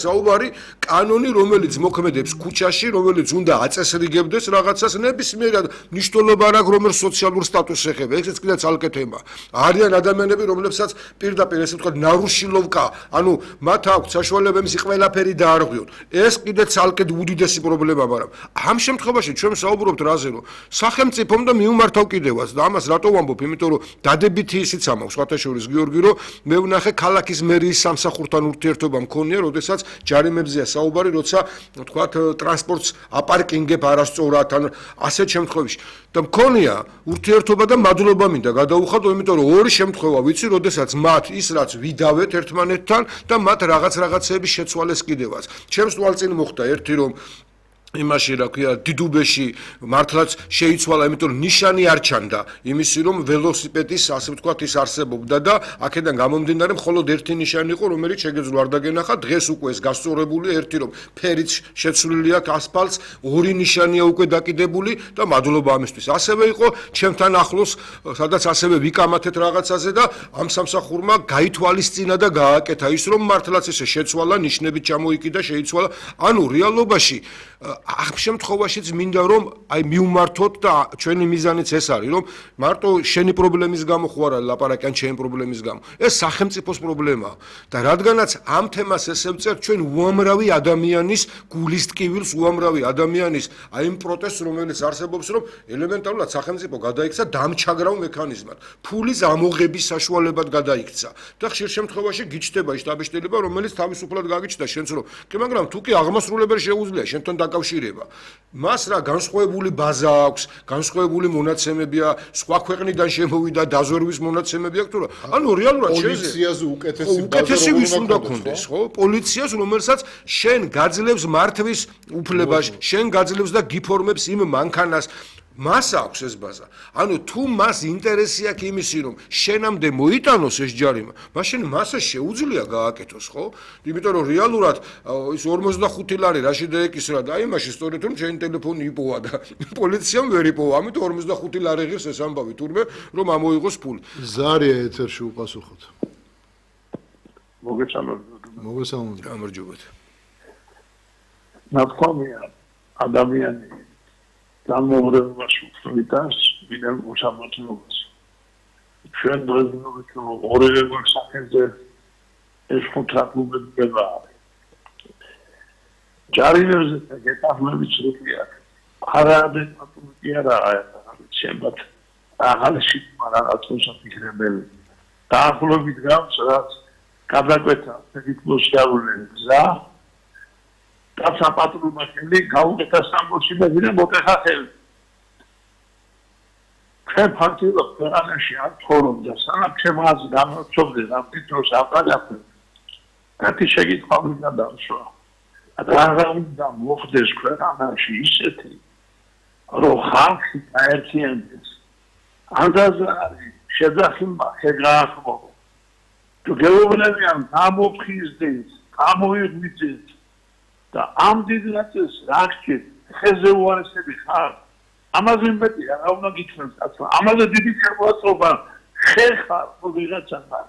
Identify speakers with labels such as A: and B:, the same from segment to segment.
A: საუბარი კანონი, რომელიც მოქმედებს ქუჩაში, რომელიც უნდა აწესრიგებდეს რაღაცას, ნებისმიერად მნიშვნელობა არ აქვს, რომელ სოციალურ სტატუსს ეხება. ესეც კიდე ცალკე თემა. არიან ადამიანები, რომლებსაც პირდაპირ ესე ვთქვათ, ნარუშილოვკა, ანუ მათ აქვს საშუალება იმისი ყველაფერი დაარღვიონ. ეს კიდე ცალკე უდიდესი პრობლემა, მაგრამ ამ შემთხვევაში ჩვენ საუბრობთ რაზე, რომ სახელმწიფომ და მიუმართავ კიდევაც და ამას რატო ვამბობ, იმიტომ რომ დადებითი ისიც ამაქვს, სხვათაშორის გიორგი, რომ მე ვნახე ქალაქის მერიის სამსახურთან ურთიერთობა მქონია, როდესაც ჯარიმებზეა საუბარი, როცა თქვათ ტრანსპორტს აპარკინგებ არასწორად ან ასეთ შემთხვევაში. და მქონია ურთიერთობა და მადლობა მინდა გადაუხადო, იმიტომ რომ ორი შემთხვევა ვიცი, როდესაც მათ ის რაც ვიდავეთ ერთმანეთთან და მათ რაღაცების შეცვალეს კიდევაც. ჩემს თვალწინ მოხდა ერთი რომ იმაში რა ქვია დიდუბეში მართლაც შეიცვალა, იმიტომ რომ ნიშანი არ ჩანდა იმისი რომ ველოსიპედის ასე ვთქვათ ის არსებობდა და აქედან გამომდინარე მხოლოდ ერთი ნიშანი იყო, რომელიც შეგეძლო არ დაგენახა, დღეს უკვე ეს გასწორებული ერთი რომ ფერიც შეცვლილი აქვს ასფალტს, ორი ნიშანია უკვე დაკიდებული და მადლობა ამისთვის. ასევე იყო ჩემთან ახლოს, სადაც ასევე ვიკამათეთ რაღაცაზე და ამ სამსახურმა გაითვალისწინა და გააკეთა ის რომ მართლაც ესე შეცვალა, ნიშნებით ჩამოიკიდა, შეიცვალა. ანუ რეალობაში ამ შემთხვევაშიც მინდა რომ აი მივმართოთ და ჩვენი მიზანიც ეს არის რომ მარტო შენი პრობლემის გამო ხო არა ლაპარაკი ან ჩემი პრობლემის გამო ეს სახელმწიფოს პრობლემაა და რადგანაც ამ თემას ესე ვწერთ ჩვენ უამრავი ადამიანის გულის ტკივილს უამრავი ადამიანის აი იმ პროტესტს რომელიც არსებობს რომ ელემენტარულად სახელმწიფო გადაიქცა დამჩაგრავ მექანიზმად ფულის ამოღების საშუალებად გადაიქცა და ხშირ შემთხვევაში გიჩნდება შტაბ-შტილება რომელიც თავისუფლად გაგიჩნდა შენც რომ კი მაგრამ თუ კი აღმასრულებელი შეუძლია შენთან დაკავშირება. მას რა განსხვავებული ბაზა აქვს, განსხვავებული მონაცემებია, სხვა ქვეყნიდან შემოვიდა დაზვერვის მონაცემები აქვს თუ რა. ანუ რეალურად
B: პოლიციაზე
A: უკეთესი ვის უნდა გქონდეს, ხო? პოლიციას, რომელსაც შენ გაძლევს მართვის უფლებას, შენ გაძლევს და გიფორმებს იმ მანქანას. მას აქვს ეს ბაზა. ანუ თუ მას ინტერესი აქვს იმისი რომ შენამდე მოიტანოს ეს ჯარიმა, მაშინ მას შეუძლია გააკეთოს, ხო? იმიტომ რომ რეალურად ის 45 ლარი რაში დაეკისრა და აი მაშინ სწორედ რომ შენი ტელეფონი იპოვა და პოლიციამ ვერ იპოვა, ამიტომ 45 ლარი ღირს ეს ამბავი თურმე რომ ამოიღოს ფული.
B: ზარია ეთერში უპასუხოთ.
C: მოგესალმებით.
A: გამარჯობათ.
C: ნათქვამია ადამიანი განმეორებაში ვიტანს ვინმე უსამართლობას. ჩვენ დღესდღეობით ორივე სახეზე ეს ხუთრაკუბება არის. ჯარიმებზე გეტახმები ცრუხია. არადეკვატური არაა შემბათ აღალში რაღაცას აფიქრებელი. დაახლოებით გავს რაც გადაკვეთა ფედიკლოსიალური გზა და საპატრულო ხელი გაუკეთა სამბოში მეზირე მოტეხა ხელი. ჩვენ ფაქტიურად ქვეყანაში არ ცხოვრობ და სანამ ჩემს გამორჩობდი რა ფიქრობს აპარატი. კაცი შეგიძლია მინდა დავშვა. რა უნდა მოხდეს ქვეყანაში ისეთი რომ ხალხი გაერთიანდეს. ანდაზარი შეძახიმა შეგაახმო. თუ გეუბნებიან გამოფხიზდეს, გამოიღვიძეს და ამ დიდ ნაწილს რა გჭირ ხეზე უარესები ხარ ამაზე მეტი რა უნდა გითხრათ კაცო ამაზე დიდი შეფასება ხეხარ ვიღაცა ხარ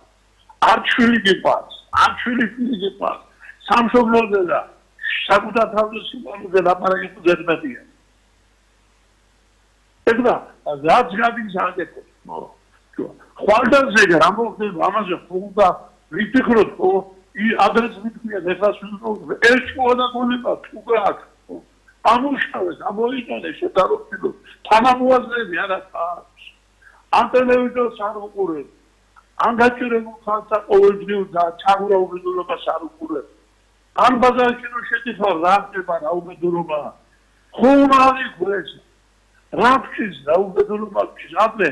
C: არ ჩვილი გიყვარს არ ჩვილი ფილი გიყვარს სამშობლოზე და საკუთარ თავზე სიყვარულზე ლაპარაკი ძერმეტია ეგდა რაც გადის აკეთებს ხვალდანზე რა მოხდება ამაზე ხუდა ვიფიქროთ ხო ადრეს მithია ეხლა სულ ეს ყველა გონება თუ გაქვს ამუშავეს ამოიტანეს შედარებულ თანამოაზრეები არ აქვს ამ ტელევიზორს არ უყურებ ამ გაჭირებულ ხალხს ყოველდღიურ და ჩაგურა უბედურობას არ უყურებ ამ ბაზარში რო შედიხარ რა ხდება რა უბედურობა ხომ არ იყვეს რა ფშის რა უბედურობა ფშის აბე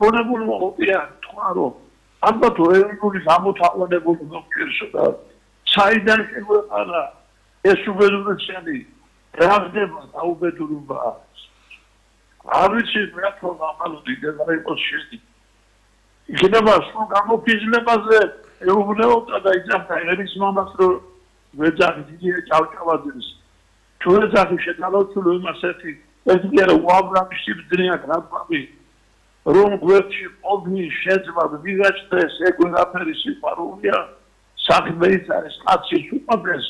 C: ხონებული მოყია თქვარო ალბათ ეროვნული გამოთაყვანებული მოგჭირსო და საიდან შეგვეყარა ეს უბედურებიანი რა ხდება დაუბედურობა არ ვიცი რა თქმა უნდა დიდება იყოს შედი იქნება სულ გამოფიზლებაზე ეუბნეობდა და იძახა ერის მამას რომ ვეძახი დიდია ჭავჭავაძეს თუ ვეძახი შეტანოთულო იმასეთი ეს კი არა უამრავი სიბძნეა გრაფამი რომ გვერდში ოდნი შეძმა ვიღაჩდეს ეგ ვერაფერი სიყვარულია საქმე ის არის კაცის უყვარდეს